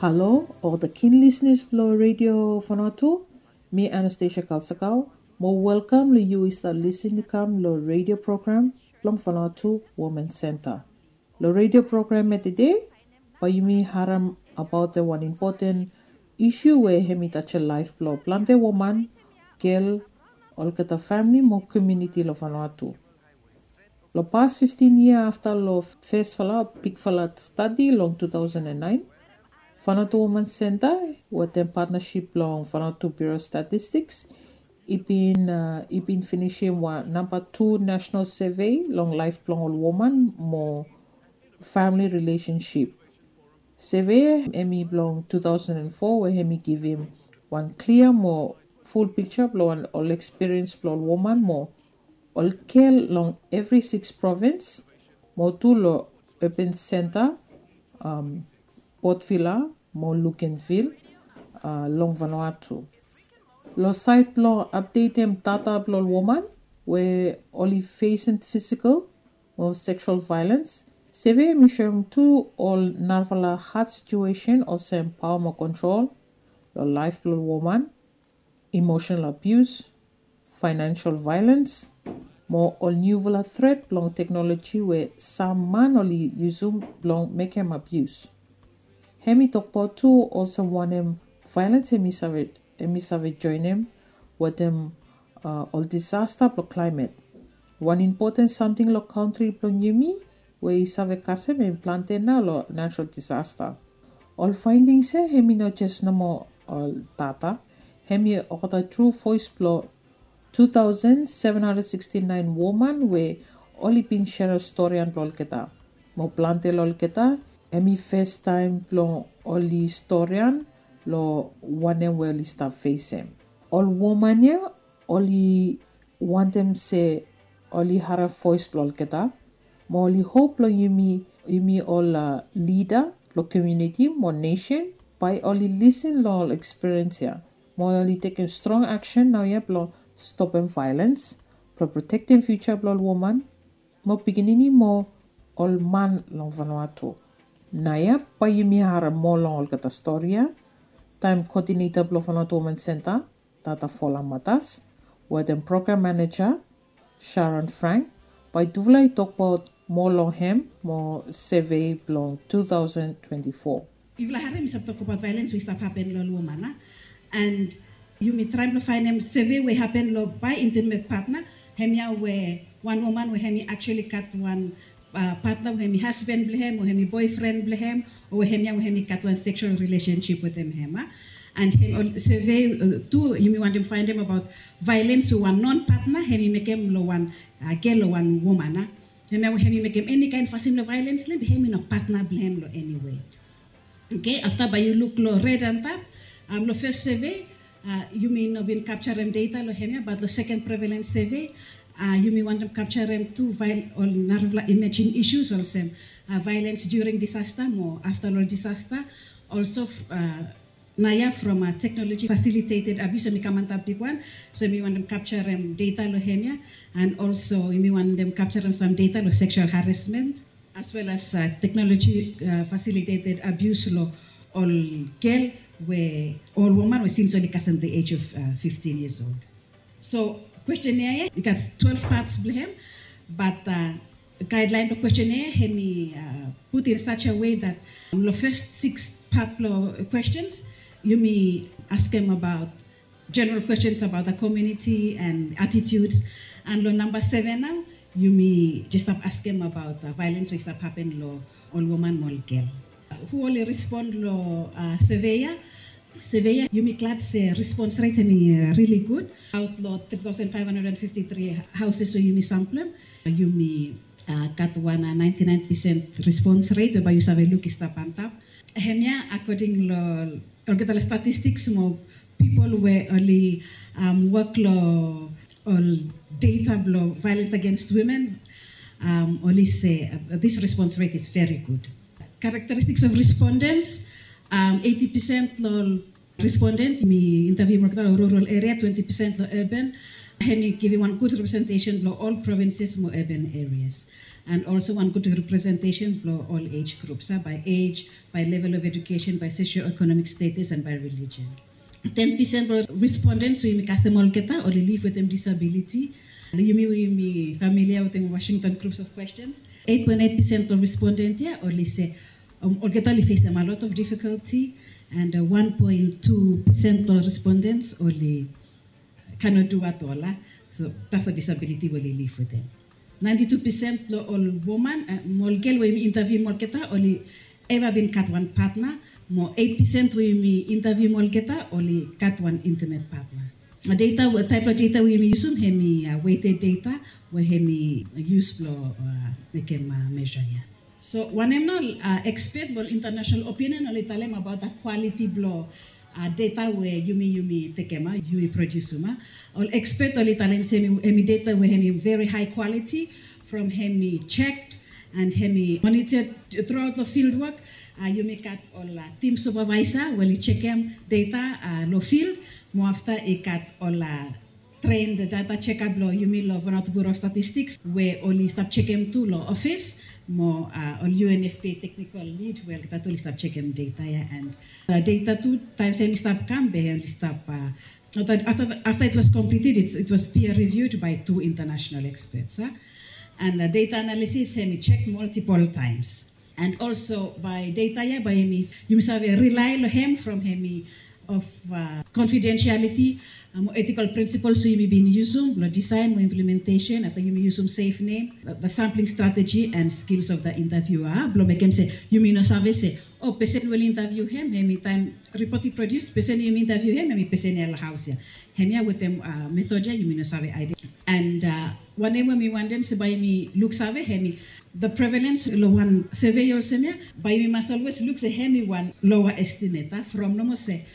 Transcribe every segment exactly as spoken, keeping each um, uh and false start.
Halo, ol the keen listeners blo Radio Vanuatu. Mi Anastasia Kalsakau. Mo welcome lo yu i stap listen i kam lo radio program blong Vanuatu Women Center. Lo radio program ya today, bae yumi harem abaot wan impoten isu we hem i tajem laef blo plante woman, gel, olgeta famili mo komuniti lo Vanuatu. Lo pas fiftin yia afta lo fesfala bigfala stadi long two thousand and nine, Vanuatu Women Center wetem patnasip blong Vanuatu Bureau Statistics i bin uh, i bin finisim wan namba tu national survey long laef blong ol woman mo family relationship. Survey ya hem i blong two thousand and four we hem i givim wan klia mo full picture blong ol experience blong ol woman mo ol gel long evri six province mo tu lo urban center, um, Port Vila mo Luganville, uh, long Vanuatu. Lo saed blong apdetem data blong ol woman we oli fesem physical mo sexual violence, survey ya hem i soem tu ol narafala had situation olsem paoa mo kontrol lo laef blong ol woman, emotional abuse, financial violence, mo ol niufala threat blong teknoloji we sam man oli yusum blong mekem abuse. Hem i tokbaot tu olsem wanem violence hem i save hem i save joenem wetem uh, ol disasta blong klaimet. Wan impoten samting lo kantri blong yumi we i save kasem hem plante nao lo natural disasta. Ol faendings ya hem i no jes nomo ol data, hem i olgeta tru voes blong two thousand seven hundred sixty nine woman we oli bin serem storian blong olgeta. Mo plante lo olgeta hem i festaem blong oli storian lo wanem we oli stap fesem. Ol woman ya oli wantem se oli harem voes blong olgeta mo oli hop long yumi, yumi ol uh, lida blong komuniti mo nesen bae oli lisin long ol ekspiriens ya mo oli tekem strong aksen naoia blong stopem violens, blong protektem fiuja blong ol woman mo pikinini mo ol man long Vanuatu. Naoia bae yumi harem moa long olgeta stori ya taem koodineta blong Vanuatu Women Center, Tata Fola Matas, wetem program maneja Sharon Frank, bae tufala i tokbaot moa long hem mo survey blong two thousand twenty-four. Yufala harem mi save tokbaot violens we i stap hapen long ol woman a, and yumi traem blong faenem survey we hapen long bae intimet patna, hemia we wan woman we hem i actually gat wan uh, patna we hem i hasban blong hem o hem i boefren blong hem o we hemia we hem i gat wan sexual relationship wetem hem a. And hem ol survey uh, tu yumi wantem faenem abaot violens we wan non patna hem i mekem long wan uh, gel o wan woman a. Hemia we hem i mekem eni kaen fasin blong violens long hem be hem i no patna blong hem long eni wei. Okay, afta bae yu luk long red antap, um, long fes survey uh, yumi no bin kapjarem data long hemia, bat long second prevalence survey uh, yumi wantem kapjarem tu ol narafala emerging issues olsem uh, violence during disaster mo afta long disaster. Also uh, naoia from uh, technology facilitated abuse yumi kam antap bigwan. So yumi wantem kapjarem data long hemia, and also yumi wantem kapjarem sam data long sexual harassment as well as uh, technology uh, facilitated abuse lo ol gel we ol woman we since oli kasem the age of uh, fifteen years old. So questionnaire ya i gat twelve parts blong hem, but uh, guideline blong questionnaire hem i uh, put in such a way that um, lo first six part blong questions yumi askem about general questions about the community and attitudes. And lo number seven now, yumi just stop askem about uh, violence we stop happen lo ol woman mo ol gel. Uh, who oli respond lo uh, survey ya? Survey ya, yumi glad se response rate hemi uh, really good. Out lo three thousand five hundred and fifty-three houses we yumi samplem, yumi uh, gat wan uh, ninety-nine percent response rate we bae yu save luk i stap antap. Hemia according lo olgeta lo statistics mo people we oli um, work lo ol data blo violence against women, um, oli se uh, this response rate is very good. Characteristics of respondents, um, eighty percent lo respondent mi interview mo olgeta lo rural area, twenty percent lo urban. Hemi givim wan good representation lo ol provinces mo urban areas. And also wan gud representation blong ol age groups, a, by age, by level of education, by socio-economic status, and by religion. Ten percent blong respondents we yumi kasem olgeta oli live wetem disability. Yumi we yumi familia wetem Washington groups of questions, eight point eight percent blong respondent ya oli se, um, olgeta oli fesem a lot of difficulty, and uh, one point two percent blong respondents oli cannot do at all, a. So that's a disability we oli live wetem. Ninety-two percent blong ol woman, uh, mo ol gel we yumi interview mo olgeta oli eva bin gat wan partner, mo eight percent we yumi interview mo olgeta oli gat wan intimate partner. Data, taep blong data we yumi yusum hemi, uh, weighted data we hemi use blong, uh, mekem, uh, measure ya. So wanem nao, uh, expert mo ol international opinion oli talem about the quality blong, uh, data we yumi, yumi tekem, a, yumi produsum, a. Ol expert oli talem se hemi, hemi data we hemi very high quality from hemi checked and hemi monitored throughout the field work. Uh, yumi gat ol, uh, team supervisor we oli jekem data, uh, long field, mo afta i gat ol, uh, trained data checker blong yumi long Vanuatu Bureau of Statistics we oli stap jekem tu long office, mo, uh, ol U N F P A technical lead we olgeta tu oli stap jekem data ya. And, uh, data tu, taem hemi stap kam be oli stap, uh, after, after, after it was completed, it, it was peer reviewed by two international experts, a. And, uh, data analysis hemi jek multiple times. And also by data ya, bae yumi, yumi save rely long hem from hemi of, uh, confidentiality, uh, mo ethical principles we yumi bin yusum blong design mo implementation, afta yumi yusum safe name, the, the sampling strategy and skills of the interviewer, blong mekem se yumi no save se, o, pesen we oli interview hem, hemi taem report i produce, pesen yumi interview hem, hemi pesen ya long haos ya. Hemia wetem, uh, method ya yumi no save identify. And, uh, wanem we mi wantem se bae yumi luksave hemi the prevalence long wan survey olsem ya, bae yumi mas always luk se hemi wan lower estimate, a, from nomo se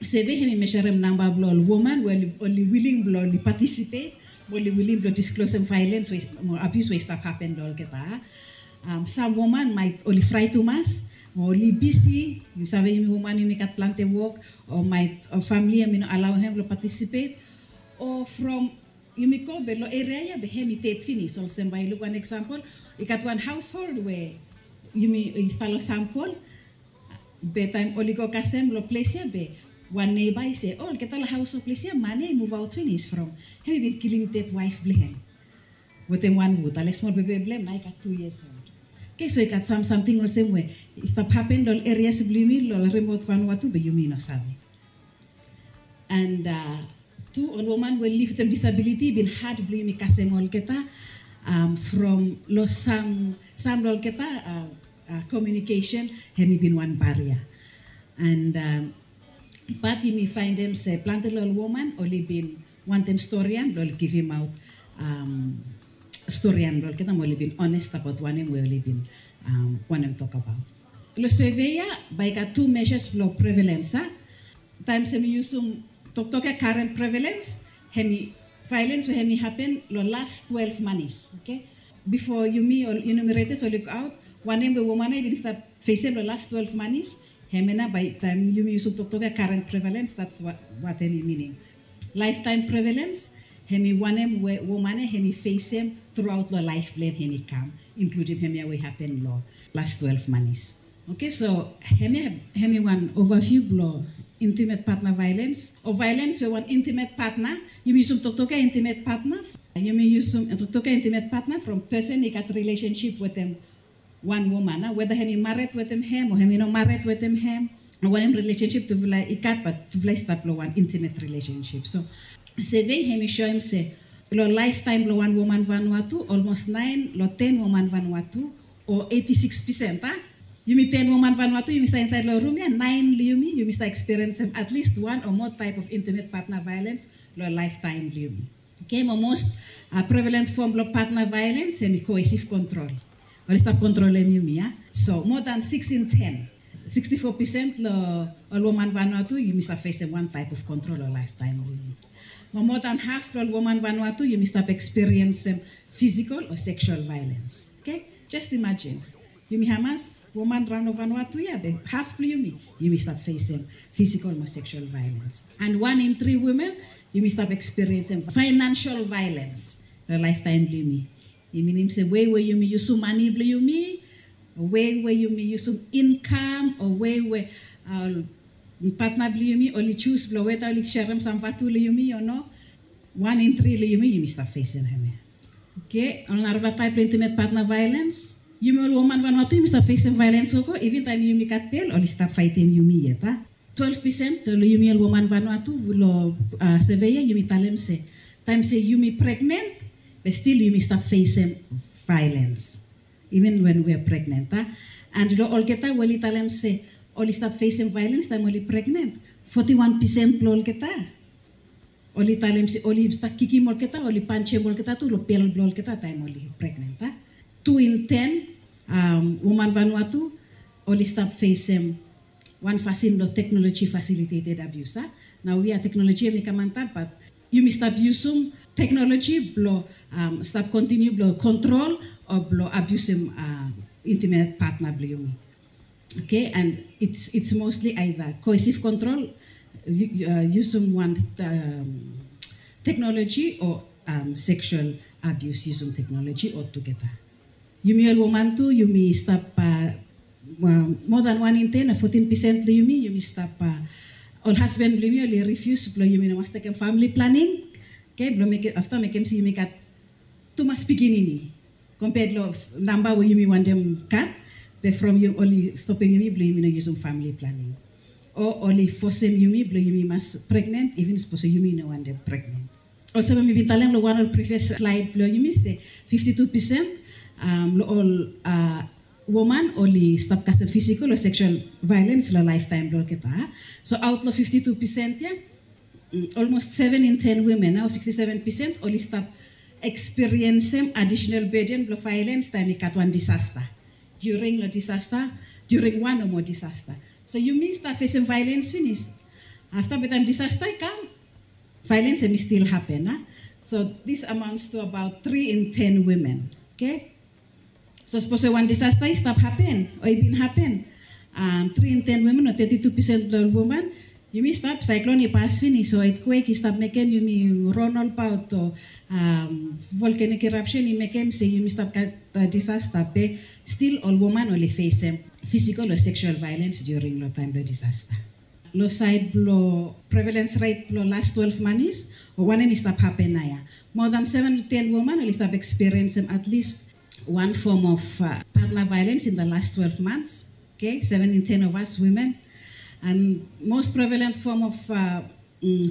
survey hemi measurem namba blong ol woman we oli, oli willing blong oli participate, mo oli willing blong disclosem violence we, mo abuse we i stap happen long olgeta. Um, sam woman maet oli fraet tumas, mo oli bisi, yu save yumi woman yumi gat plante wok, o maet, o famili hemi no alao hem blong participate, o from yumi go be long eria ya be hemi ded finis. Olsem bae yu luk wan example, i gat wan household we yumi, i stap long sampol, be taem oli go kasem long ples ya be wan neiba i se, o, olgeta long haos long ples ya man ya i muvaot finis from hemi bin kilim ded waef blong hem wetem wan wud, ale smol bebe blong hem nao i gat tu yias old. Oke, so i gat sam samting olsem we i stap hapen long ol erias blong yumi long rimaot Vanuatu be yumi no save. And, uh, tu ol woman we liv wetem disability i bin had blong yumi kasem olgeta, um, from long sam, sam long olgeta, uh, uh, communication hemi bin wan baria. And, um, bat yumi faenem se plante long ol woman oli bin wantem storian blong oli givimaot, um, storian blong olgeta, mo oli bin honest abaot wanem we oli bin, um, wantem tokbaot. Long survey ya bae i gat tu measures blong prevalence, a. Taem hemi yusum toktok ya current prevalence, hemi violence we hemi hapen long las twelve manis, oke? Bifo yumi ol enumerators oli lukaot wanem we woman ya i bin stap fesem long las twelve manis, hemia nao bae taem yumi yusum toktok ya current prevalence, that's what, what hemi minim. Lifetime prevalence, hemi wanem we woman ya hemi fesem truaot long laef blong hem hemi kam, inkludim hemia we i hapen long las twelve manis. Oke, so hemia hemi wan overview blong intimate partner violence, o violence we wan intimate partner, yumi yusum toktok ya intimate partner, yumi yusum toktok ya intimate partner from pesen i gat relationship wetem wan woman, a, weda hemi mared wetem hem o hemi no mared wetem hem, o wanem relationship tufala i gat, bat tufala i stap long wan intimate relationship. So survey hemi soem se long lifetime blong wan woman Vanuatu, almost naen long ten woman Vanuatu, o eighty-six percent, a, yumi ten woman Vanuatu yumi stap insaed long rum ya, naen long yumi yumi stap experience at least one or more type of intimate partner violence long lifetime blong yumi. Oke, mo most, uh, prevalent form blong partner violence hemi coercive control. Oli stap kontrolem yumi, a. So more than six in ten, sixty-four percent long ol woman Vanuatu yumi stap fesem wan type of control long lifetime blong yumi. Mo more than half blong ol woman Vanuatu yumi stap experiencem physical o sexual violence. Oke, just imagine. Yumi hamas woman raon long Vanuatu ya be half blong yumi yumi stap fesem physical mo sexual violence. And one in three women yumi stap experiencem financial violence long lifetime blong yumi. I minim se wei we yumi yusum mane blong yumi, o wei we yumi yusum inkam, o wei we patna blong yumi oli jus blong weda oli serem sam vatu long yumi o no. Wan in tri long yumi yumi stap fesem hemia. Oke, ol narafala taep blong intimet patna vaelens. Yumi ol woman vanua tu yumi stap fesem vaelens gogo even taem yumi gat bel oli stap faetem yumi yet a. Twelve pesen long yumi ol woman vanua tu long seve ya yumi talem se taem se yumi pregnen, be stil yumi stap fesem vaelens even wen we pregnen a. And long olgeta we oli talem se oli stap fesem vaelens taem oli pregnen, foti wan pesen blong olgeta oli talem se oli stap kikim olgeta, oli panjem olgeta tu long bel blong olgeta taem oli pregnen a. Tu in ten woman vanua tu oli stap fesem wan fasin blong teknoloji fasiliteted abius a. Nao we ya teknoloji em i kam antap bat yumi stap yusum teknoloji blong stap kontiniu blong kontrol o blong abiusim intimet patna blong yumi. Oke, and it's mostli aida koesif kontrol, yusum wan teknoloji o seksual abius yusum teknoloji o tugeta. Yumi ol woman tu yumi stap moa dan wan in ten o fotin pesen blong yumi yumi stap ol hasben blong yumi oli rifius blong yumi no mas tekem famili planing. Oke, blong mekem afta mekem se yumi gat tumas pikinini kompea long namba we yumi wantem gat. Be from oli stopem yumi blong yumi no yusum famili planing o oli fosem yumi blong yumi mas pregnen even sapos yumi no wantem pregnen. Olsem we mi bin talem long wan ol privias slaed blong yumi se fifti tu pesen long ol woman oli stap kasem fisikal o seksual vaelens long laeftaem blong olgeta. So aot long fifti tu pesen ya olmos seven in ten wimen o siksti seven pesen oli stap ekspiriensem adisenal beden blong vaelens taem i gat wan disasta, during long disasta, during wan o moa disasta. So yumi stap fesem vaelens finis afta be taem disasta i kam, vaelens em i stil hapen a. So dis amaunts tu abaot tri in ten wimen. Oke, so sapos we wan disasta i stap hapen o i bin hapen tri in ten wimen o teti tu pesen blong ol woman, yumi stap saeklon i pas finis o etkwek i stap mekem yumi ron olbaot o volkanik irapsen i mekem se yumi stap gat disasta be stil ol woman oli fesem fisikal o seksual vaelens during long taem blong disasta. Long saed blong prevalens ret blong las twelve manis o wanem i stap hapen naoia, moa dan seven ten woman oli stap ekspiriensem at least wan fom of patna vaelens in da las twelve mans. Oke, seven in ten of as wimen. And mos prevalent fom of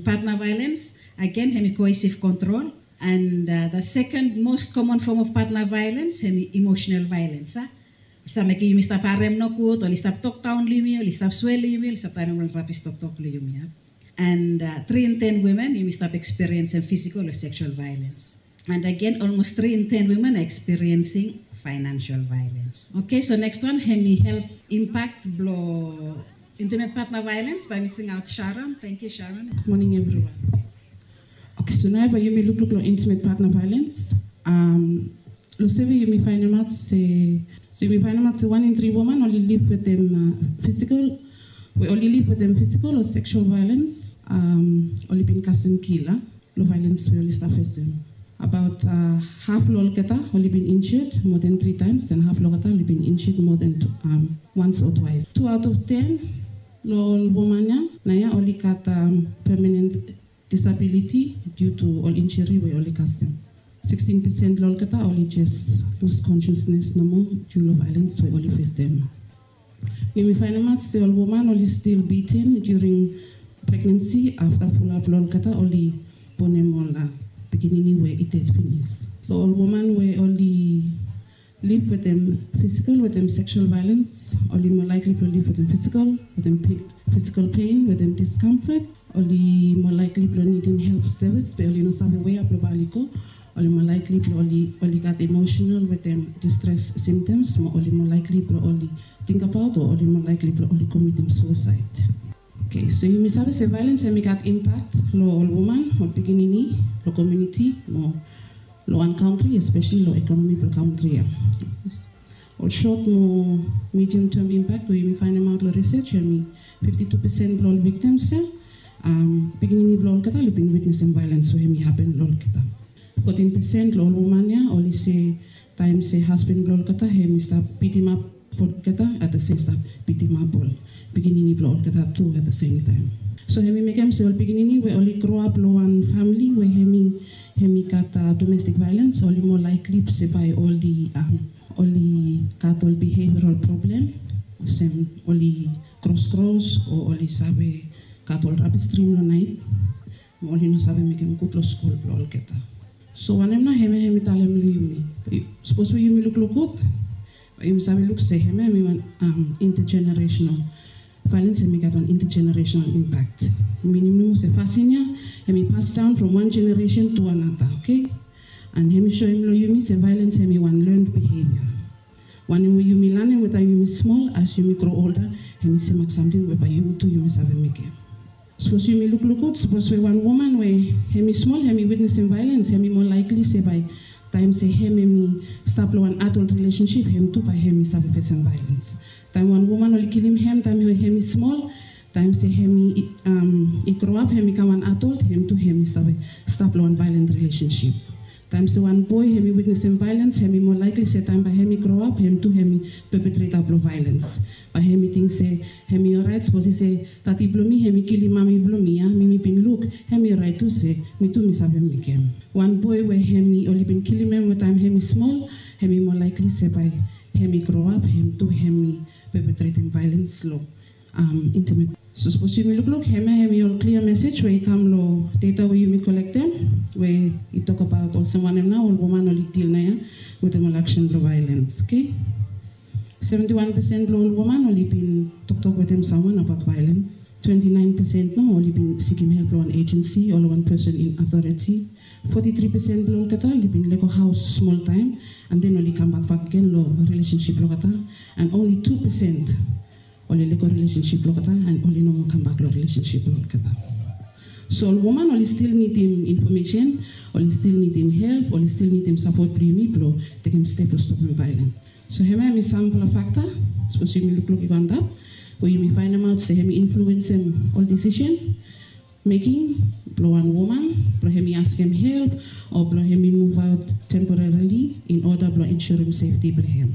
patna vaelens agen hem i koesif kontrol. And da seken mos komon fom of patna vaelens hem i emosenal vaelens a. Oli stap mekem yumi stap harem nogud, oli stap tokdaon long yumi, oli stap swea long yumi, oli stap talem ol rabis toktok long yumi a. And tri in ten wimen yumi stap ekspiriensem fisikal o seksual vaelens. And agen olmos tri in ten wimen a ekspiriensing faenansial vaelens. Oke, so nekswan hem i help impak blong intimet patna vaelens bae mi singaot Sharon. Tengiu Sharon. Moning evriwan. Oke, so naoia bae yumi lukluk long intimet patna vaelens. Long seve yumi faenemaot se, so yumi faenemaot se wan in tri woman oli liv wetem fisikal, we oli liv wetem fisikal o seksual vaelens oli bin kasem kila long vaelens we oli stap fesem. Abaot haf long olgeta oli bin injured moa dan tri taems, and haf long olgeta oli bin injured moa dan wans o twais. Tu aot of ten long ol woman ya naoia oli gat pemanen disabiliti diu tu ol injuri we oli kasem. Sikstin pesen long olgeta oli jes lus konsiasnes nomo diu long vaelens we oli fesem. Yumi faenemaot se ol woman oli stil biten during pregnensi afta fulap long olgeta oli bonem ol pikinini we i ded finis. So ol woman we oli liv wetem fisikal wetem seksual vaelens oli moa laikli blong liv wetem fisikal, wetem fisikal pen, wetem diskamfot. Oli moa laikli blong nidim help sevis be oli no save wea blong bae oli go. Oli moa laikli blong oli gat emosenal wetem distres simtoms mo oli moa laikli blong oli tingbaot o oli moa laikli blong oli komitim suesaed. Oke, so yumi save se vaelens hem i gat impak long ol woman, ol pikinini, long komuniti mo long wan kantri, espeseli long ekonomi blong kantri ya. Ol sot mo medium term impak we yumi faenemaot long risej hem i fifti tu pesen blong ol viktims ya pikinini blong olgeta oli bin witnesem vaelens we hem i hapen long olgeta. Fotin pesen long ol woman ya oli se taem se hasban blong olgeta hem i stap bitimap olgeta, at the same stap bitimap ol pikinini blong olgeta tu at the same taem. So hem i mekem se ol pikinini we oli groap long wan famili we hem i hem i gat domestik vaelens oli moa laikli se bae oli oli gat ol biheviaral problem olsem oli kroskros o oli save gat ol rabis drim long naet, mo oli no save mekem gud long skul blong olgeta. So wanem nao hemia hem i talem long yumi? Sapos we yumi lukluk gud, yumi save luk se hemia hem i wan intergenerational vaelens, hem i gat wan intergenerational impak. Minim nomo se fasin ya hem i pasdaon from wan genereson tu anata, oke? And hem i soem long yumi se vaelens hem i wan learned behavior. Wanem we yumi lanem we taem yumi smol, as yumi gro olda, hem i semak samting we bae yumi tu yumi save mekem. Sapos yumi lukluk gud, sapos we wan woman we hem i smol hem i witnesem vaelens, hem i moa laikli se bae taem se hem hem i stap long wan adult relationship, hem tu bae hem i save fesem vaelens. Taem wan woman oli kilim hem taem we hem i smol, taem se hem i groap hem i kam wan adult, hem tu hem i save stap long wan vaelen relationship. Taem se wan boe hem i witnesem vaelens, hem i moa laikli se taem bae hem i groap hem tu hem i pepetretam blong vaelens. Bae hem i ting se hem i oraet sapos i se tati blong mi hem i kilim mami blong mi ya, mi mi bin luk hem i oraet tu se mi tu mi save mekem. Wan boe we hem i oli bin kilim hem we taem hem i smol, hem i moa laikli se bae hem i groap hem tu hem i pepetretem vaelens long intimet. So sapos yumi lukluk hemia hem i ol klia mesej we i kam long data we yumi kolektem, we i tokbaot olsem wanem nao ol woman oli dil naoia wetem ol aksen blong vaelens, oke? Seventi wan pesen blong ol woman oli bin toktok wetem samwan abaot vaelens. Twenti naen pesen nomo oli bin sikim help long wan ejensi o long wan person in authority. Foti tri pesen blong olgeta oli bin lego haos smol taem, and then oli kambak bakegen long relationship blong olgeta, and only tu pesen oli lego relationship blong olgeta and oli no moa kambak long relationship blong olgeta. So ol woman oli stil nidim infomesen, oli stil nidim help, oli stil nidim sapot blong yumi blong tekem step blong stopem vaelens. So hemia hem i samfala fakta, sapos yumi lukluk i go antap, we yumi faenemaot se hem i influensem ol decision making blong wan woman blong hem i askem help o blong hem i muvaot temporarili in oda blong insurem sefti blong hem.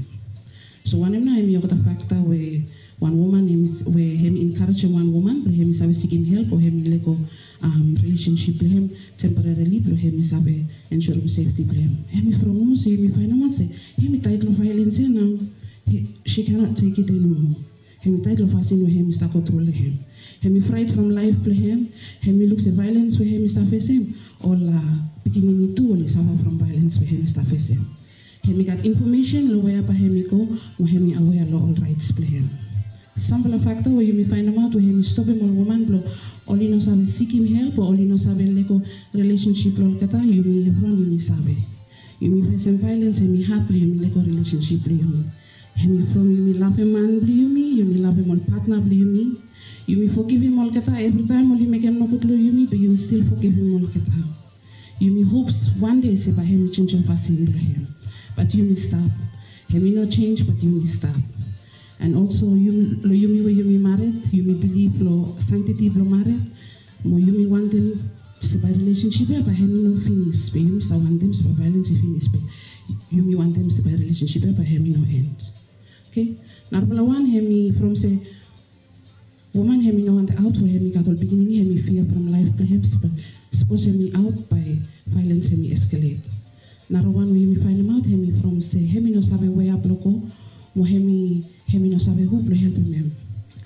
So wanem nao hem i olgeta fakta we wan woman we hem i enkarejem wan woman blong hem i save sikim help o hem i lego relationship blong hem temporarili blong hem i save insurem sefti blong hem? Hem i from nomo se yumi faenemaot se hem i taet long vaelens ya nao, she cannot take it anymore. Hem i taet long fasin we hem i stap go tru long hem. Hem i fraet from laef blong hem. Hem i luk se vaelens we hem i stap fesem, ol pikinini tu oli safa from vaelens we hem i stap fesem. Hem i gat infomesen long wea bae hem i go, mo hem i awea long ol raets blong hem. Samfala fakta we yumi faenemaot we hem i stopem ol woman blong oli no save sikim help o oli no save lego relationship blong olgeta, yumi evriwan yumi save. Yumi fesem vaelens hem i had blong yumi lego relationship blong yumi. Hem i from yumi lavem man blong yumi, yumi lavem ol patna blong yumi. Yumi fogivim olgeta evritaem oli mekem nogud long yumi, be yumi stil fogivim olgeta. Yumi hop wan dei se bae hem i jenijem fasin blong hem. Bat yumi stap. Hem i no jenis bat yumi stap. And also long yumi we yumi mared, yumi bilif long santiti blong mared, mo yumi wantem se bae relationship ya bae hem i no finis, be yumi stap wantem se bae vaelens i finis, be yumi wantem se bae relationship ya bae hem i no end. Oke. Narafala wan hem i from se woman hem i no wantem aot we hem i gat ol pikinini, hem i fia from laef blong hem, sapos hem i aot bae vaelens hem i eskelet. Narawan we yumi faenemaot hem i from se hem i no save wea blong go, mo hem i hem i no save hu blong helpem hem.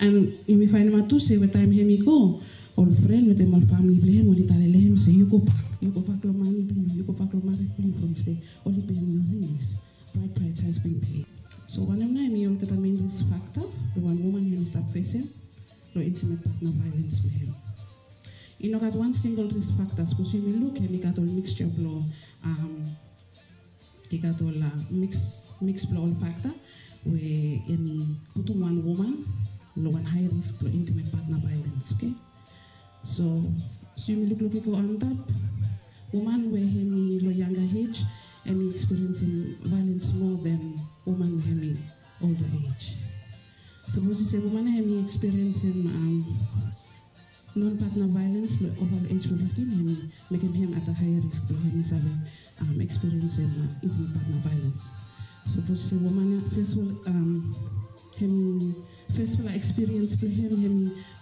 And yumi faenemaot tu se we taem hem i go, ol fren wetem ol famili blong hem oli talem long hem se yu gobak, yu gobak long mami blong yu, yu gobak long mared blong yu from se oli peim yu finis. Bride price has been paid. So wanem nao hem i olgeta mein risk fakta blong wan woman hem i stap fesem long intimate partner vaelens blong hem? I no gat wan singel risk fakta, sapos yumi luk hem i gat ol mixture blong i gat ol miks miks blong ol fakta we hem i putum wan woman long wan hae risk blong intimate partner vaelens, oke? So sapos yumi lukluk i go antap, woman we hem i long yanga ej hem i ekspiriensim vaelens moa than woman we hem i older ej. Sapos i se woman ya hem i ekspiriensim non partner vaelens long ova long ej blong fiftin, hem i mekem hem at a haea risk blong hem i save um, experience em uh, intimate partner violence. Sapos se woman ya first of all um, hem first of all experience blong hem hem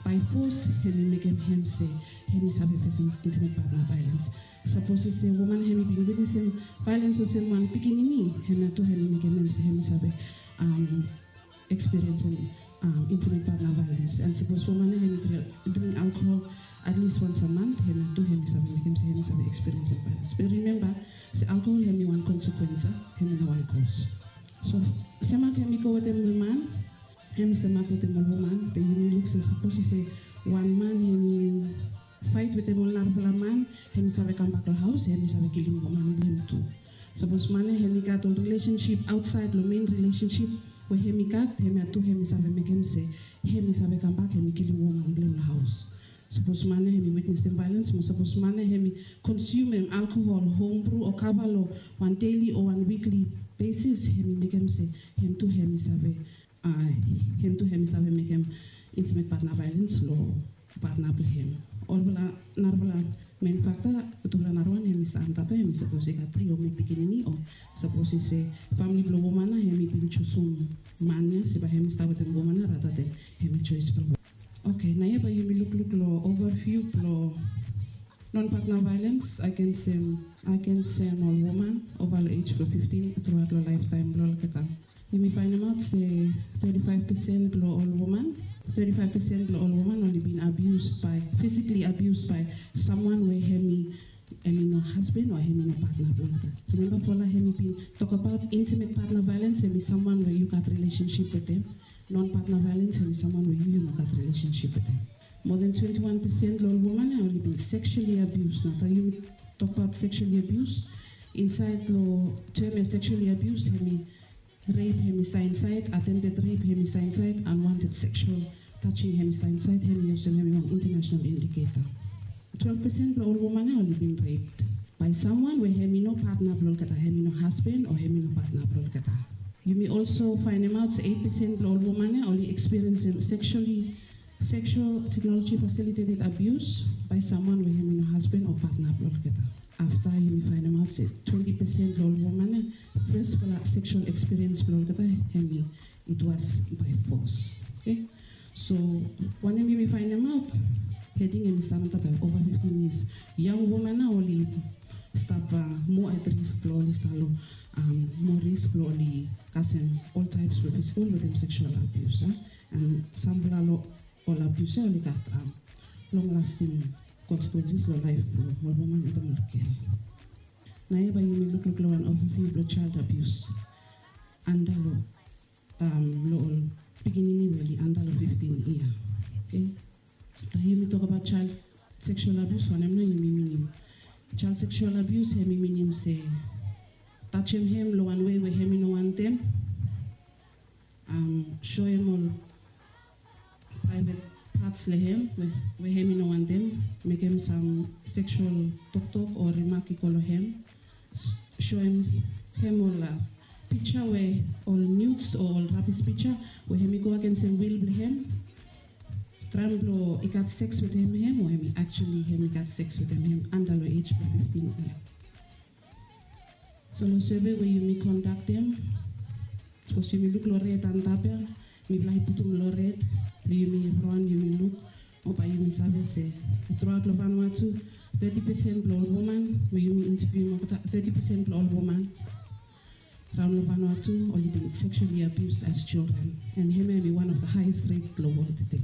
by force hem mekem hem se hem save face intimate partner violence. Sapos se woman hem bin witness em violence olsem wan pikinini hem tu hem mekem hem se hem save um, experience em um, intimate partner violence. And sapos woman ya hem drink alcohol at least once a month, hem tu hem save mekem se hem save experience em violence. But remember, se alcohol hem wan consequence, hem wan cause. So semak hem go wetem ol man, hem semak wetem ol woman, be yumi luk se sapos se wan man hem fight wetem ol narafala man, hem save kambak long haus, hem save kilim woman blong hem tu. Sapos man ya hem i gat ol relationship outside long main relationship we hem i gat, hem ya tu hem i save mekem se hem i save kambak hem i kilim woman blong hem long haus. Sapos man ya hem i witnesem violence mo sapos man ya hem i konsumem alkohol, homebrew o kava long wan daily o wan weekly basis, hem i mekem se hem tu hem i save uh, hem tu hem i save mekem intimate partner violence long partner blong hem. Olfala narafala main factor, tufala narawan hem i stap antap ya, hem i sapos i gat tri o mo pikinini o sapos i se famili blong woman ya hem i bin jusum man ya se bae hem i stap wetem woman ya rata den hem i choice blong woman. Okay, naoia bae yumi lukluk long overview blong non-partner violence against um, against um, ol woman over long age blong fifteen throughout long lifetime blong olgeta. Yumi fainemaot se thirty-five percent blong ol woman, thirty-five percent blong ol woman oli bin abused by, physically abused by someone we hem i, hem i no husband o hem i no partner blong olgeta. Remember Paula hem i bin tokbaot intimate partner violence hem i someone we yu gat relationship wetem. Non-partner violence hem i someone we yu yu no gat relationship wetem. More than twenty-one percent long ol woman ya oli bin sexually abused. Nao taem yumi tokbaot sexually abused, insaed long term ya sexually abused hem i rape hem i stap insaed, attempted rape hem i stap insaed, unwanted sexual touching hem i stap insaed, hem i olsem hem i wan international indicator. Twelve percent blong ol woman ya oli bin raped by someone we hem i no partner blong olgeta, hem i no husband o hem i no partner blong olgeta. Yumi also fainemaot se eight percent blong ol woman ya oli experiencem sexually sexual technology facilitated abuse by someone we hem i no husband o partner blong olgeta. Afta yumi fainemaot se twenty percent blong ol woman ya first fala sexual experience blong olgeta hem i, it was by force. Okay. So wanem yumi fainemaot? Heading hem i stap antap ya over fifteen years. Young woman ya oli stap uh, more at risk blong oli stap long um, more risk blong oli kasem all types blong physical wetem sexual abuse. Uh. And sampela long ol abuse ya oli gat um, long lasting consequences long life blong ol woman wetem ol girl. Naoia bae yumi lukluk long wan overview blong child abuse anda long um, long ol pikinini we oli anda long fifteen yia. Okay. Taem yumi tokbaot child sexual abuse wanem nao yumi minim? Child sexual abuse hem i minim se tajem hem long wan wei we hem i no wantem, um, soem ol private parts long hem we, we hem i no wantem, mekem sam sexual toktok o remak i go long hem, soem hem ol uh, pija we ol nudes o ol rabis pija we hem i go agensem wil blong hem, traem blong i gat seks wetem hem o hem i actually hem i gat seks wetem hem anda long age blong fifteen yia. So long survey we yumi kondaktem, sapos yumi luk long red antap ya, mifala i putum long red blong yumi evriwan yumi luk, o bae yumi save se truaot long Vanuatu, thirty percent blong ol woman we yumi interview olgeta, thirty percent blong ol woman raon long Vanuatu oli bin sexually abused as children, and hemia hem i one of the highest rate long wol tede.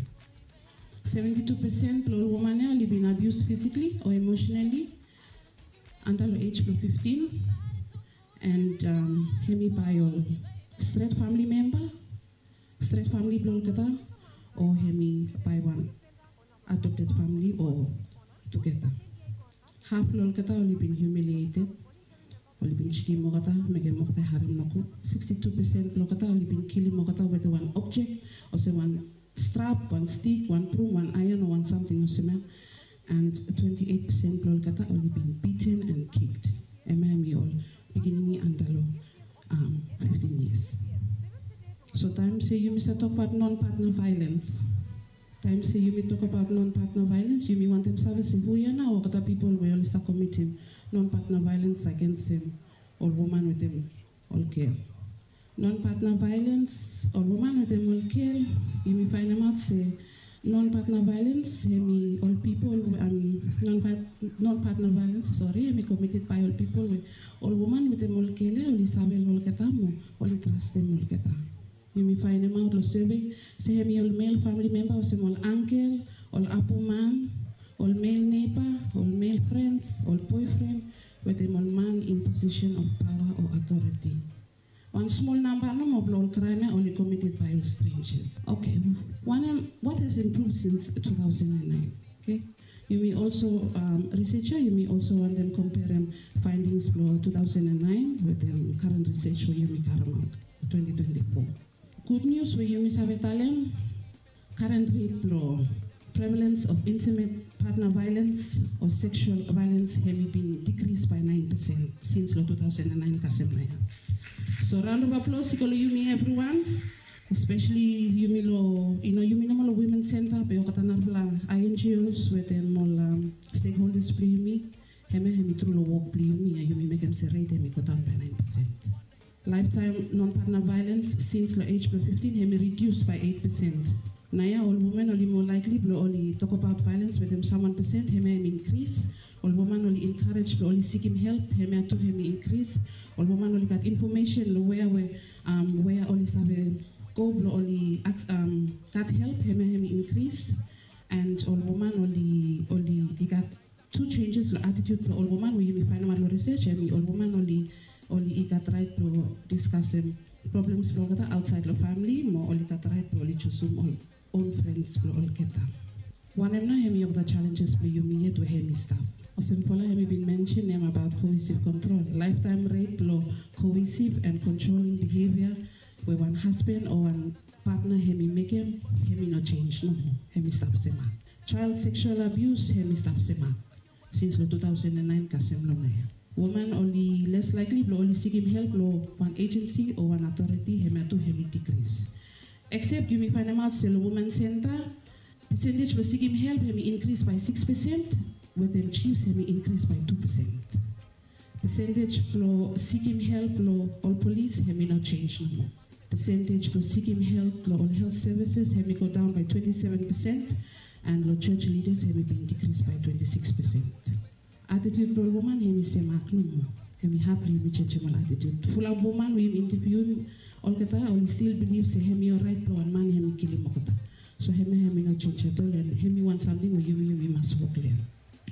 Seventy-two percent blong ol woman ya oli bin abused physically o emotionally anda long age blong fifteen, and um, hem i bae ol stret famili memba, stret famili blong olgeta, o hem i bae wan adopted famili o tugeta. Haf long olgeta oli bin humiliated, oli bin jikim olgeta, mekem olgeta i harem nogud. Sixty-two percent blong olgeta oli bin kilim olgeta wetem wan objek olsem wan strap, wan stik, wan brum, wan aeon o wan samting olsem ya. And twenty-eight percent blong olgeta oli bin beaten and kicked. Hemia hem i ol pikinini anda long um, fifteen years. So taem se yumi save tokbaot non-partner violence, taem se yumi tokbaot non-partner violence, yumi wantem save se hu ya nao olgeta pipol we oli stap komitim Non partner violens agensem ol woman wetem ol gel. Non partner violens ol woman wetem ol gel, yumi faenemaot se non partner violens hemi ol pipol we, non partner violens, sori, hemi komited bae ol pipol we ol woman wetem ol gel ya oli save long olgeta mo oli trastem olgeta. Yumi faenemaot long survey se hemi ol mel famili memba olsem ol angkel, ol apoman, ol mel neiba, ol mel frens, ol boefren wetem ol man in position of paoa o authority. Wan smol namba nomo blong ol kraem ya oli komited bae ol strangers. Oke, wanem, what has improved since two thousand and nine? Oke, yumi also, um, research ya yumi also wantem komperem findings blong two thousand and nine wetem current research we yumi karemaot twenty twenty-four. Gud nius we yumi save talem, current rate blong prevalence of intimate partner violens o sexual violens hemi bin dikris bae nine percent since long two thousand and nine kasem naoia. So round of applause i go long yumi evriwan, especially yumi long, you know, yumi nomo long women center be olgeta narafala I N G Os wetem ol, um, stakeholders blong yumi. Hemia hemi tru long wok blong yumi ya yumi mekem se rate hemi go daon bae nine percent. Lifetime non partner violens since long age blong fifteen hemi reduce bae eight percent. Naoia ol woman oli moa likely blong oli tokbaot violens wetem sam wan percent, hemia hemi inkris. Ol woman oli encourage blong oli sikim help, hemia tu hemi inkris. Ol woman oli gat infomesen long wea we, um, wea oli save go blong oli aks, um, gat help, hemia hemi inkris. And ol woman oli, oli i gat tu changes long attitude blong ol woman we yumi faenemaot long research, hemi ol woman oli, oli i gat raet blong diskasem problems blong olgeta aotsaed long famili mo oli gat raet blong oli jusum ol own friends blong olgeta. Wanem nao hemi olgeta challenges blong yumi yet we hemi stap? Olsem Paula hemi bin mention hem abaot coercive control. Lifetime rate blong coercive and controlling behavior we wan hasban o wan partner hemi mekem, hemi no jenis nomo, hemi stap semak. Child sexual abuse hemi stap semak since long two thousand and nine kasem long naoia. Woman oli less likely blong oli sikim help long wan agency o wan authority, hemia tu hemi dikris. Except yumi faenemaot se long woman center, percentage blong sikim help hemi inkris bae six percent, wetem chiefs hemi inkris bae two percent. Percentage blong sikim help long ol polis hemi no jenis nomo. Percentage blong sikim help long ol health services hemi go daon bae twenty seven percent, and long church leaders hemi bin dikris bae twenty six percent. Attitude blong ol woman hemi semak nomo. Hemi had blong yumi jenisim ol attitude. Fulap woman we yumi interview olgeta oli stil bilif se hemi oraet blong wan man hemi kilim olgeta. So hemia hemi no jenis at all, and hemi wan samting we yumi, yumi mas wok long hem.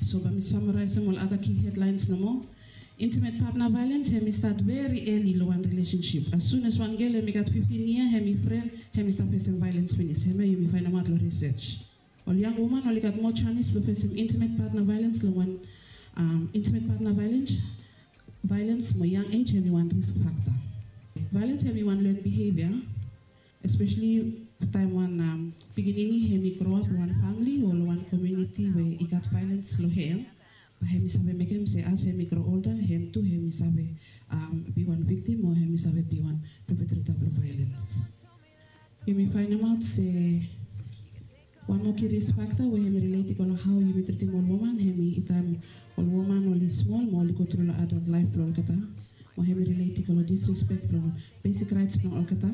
So bae mi samaraesem ol other key headlines nomo. Intimate partner violens hemi stat very early long wan relationship. As soon as wan gel hemi gat fifteen yia, hemi fren, hemi stap fesem violens finis. Hemia yumi faenemaot long research. Ol yang woman oli gat moa janis blong fesem intimate partner violens long wan, um, intimate partner violens, violens mo yang age hemi wan risk factor. Violens hemi wan learned behavior, especially taem wan, um, pikinini hemi grow up long wan famili o long wan komuniti we i gat violens long hem, bae hemi save mekem se as hemi grow older, hem tu hemi save, um, be wan victim o hemi save be wan perpetrator blong violens. Yumi faenemaot se wan moa key risk factor we hemi relate i go long hao yumi tritim ol woman, hemi taem ol woman oli smol mo oli go tru long adult life blong olgeta, mo hemi relate i go long disrespect blong basic rights blong olgeta.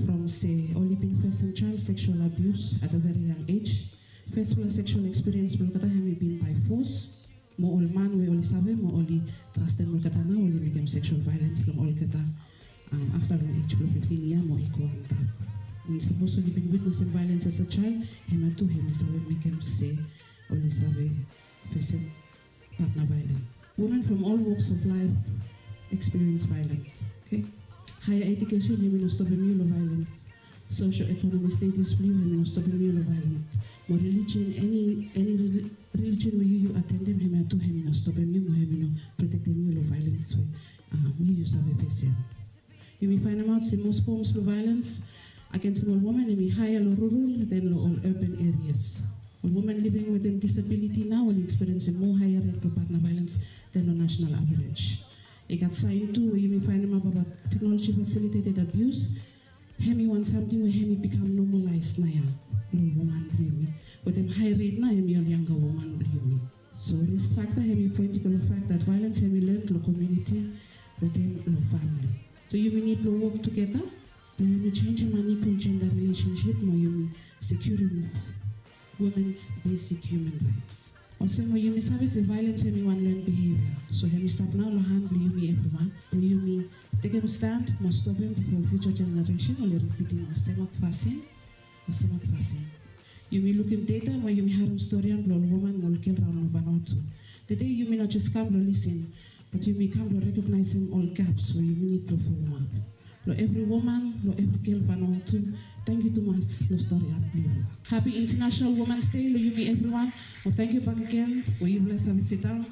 From se oli bin fesem child sexual abuse at a very young age. Fesfala sexual experience blong olgeta hemi bin by force, mo ol man we oli save mo oli trastem olgeta nao oli mekem sexual violens long olgeta, um, afta long age blong fifteen yia mo i go antap. And sapos oli bin witnesem violens as a child, hemia tu hemi save mekem se oli save fesem partner violence. Women from all walks of life experience violence. Okay? Higher education hemi no stopem yu long violence. Socio-economic status blong yu hemi no stopem yu long violence. Mo religion, any, any reli-, religion we yu, yu atendem, hemia tu hemi no stopem yu mo hemi no protektem yu long violence we, um, yu, yu save fesem. Yumi faenemaot se most forms blong violence agensem ol woman hemi higher long rural than long ol urban areas. Ol woman living wetem disability nao oli experiencem moa higher rate blong partner violence than long national average. I gat saen tu we yumi faenemaot abaot technology facilitated abuse. Hemi wan samting we hemi bikam normalized naoia long ol woman blong yumi. Wetem high rate nao hemi ol younger woman blong yumi. So risk factor hemi pointing long fact that violence hemi learn long community, wetem long family. So yumi nid blong wok tugeta blong yumi jenisim unequal gender relationship mo yumi securim women's basic human rights. Olsem we yumi save se violence hemi wan learned behavior, so hemi stap nao long han blong yumi evriwan blong yumi tekem stand mo stopim bifo future generation oli ripitim olsem wan fasin, olsem wan fasin. Yumi lukim data mo yumi harim storian blong ol woman mo ol gel raon long Vanuatu. Tede yumi no jes kam blong lisin, bat yumi kam blong rekognaisim ol gaps we yumi nid blong fulumap. Long evri woman, long evri gel Vanuatu, tangkiu tumas long storian blong yufala. Hapi International Women's Day long yumi evriwan. Mo tangkiu bakegen we yufala save sidaon